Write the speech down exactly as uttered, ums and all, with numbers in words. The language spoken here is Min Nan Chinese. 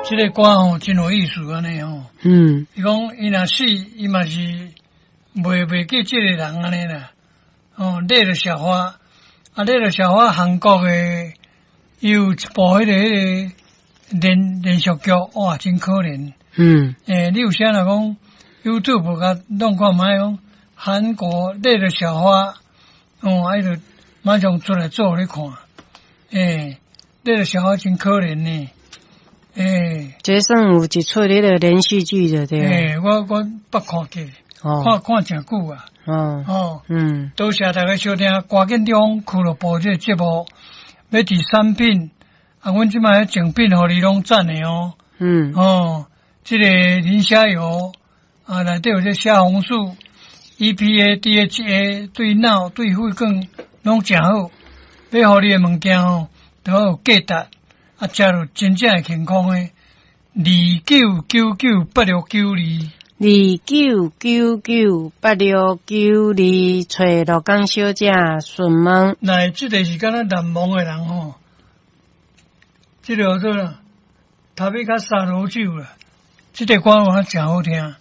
這个歌吼真有意思按呢吼。嗯。伊講伊若死，伊嘛是袂袂記這個人按呢啦。哦，熱的小花，啊，熱的小花，韓國的有一部彼个彼个連連續劇，哇，真可憐。嗯。欸，你有啥若講 YouTube 共弄看覓講韓國熱的小花，哦，啊，伊就馬上出來做予你看。欸，熱的小花真可憐呢。欸，這算有一齣彼个連續劇的對。欸，我我捌看過，看看誠久啊。哦。哦。嗯。多謝大家收聽歌見中俱樂部這个節目，欲佇產品，啊，阮這擺贈品予你攏讚的哦。嗯。哦，這個磷蝦油啊，內底有這蝦紅素、E P A、D H A，對腦、對血管攏誠好。欲予你的物件吼，都有價值，啊，食落真正會健康的。二九九九八六九二，二九九九八六九二，揣鹿港小姐詢問。來，這个是敢若難忘的人吼，這个叫做啦，塔比卡沙羅酒啦，這个歌我誠好聽。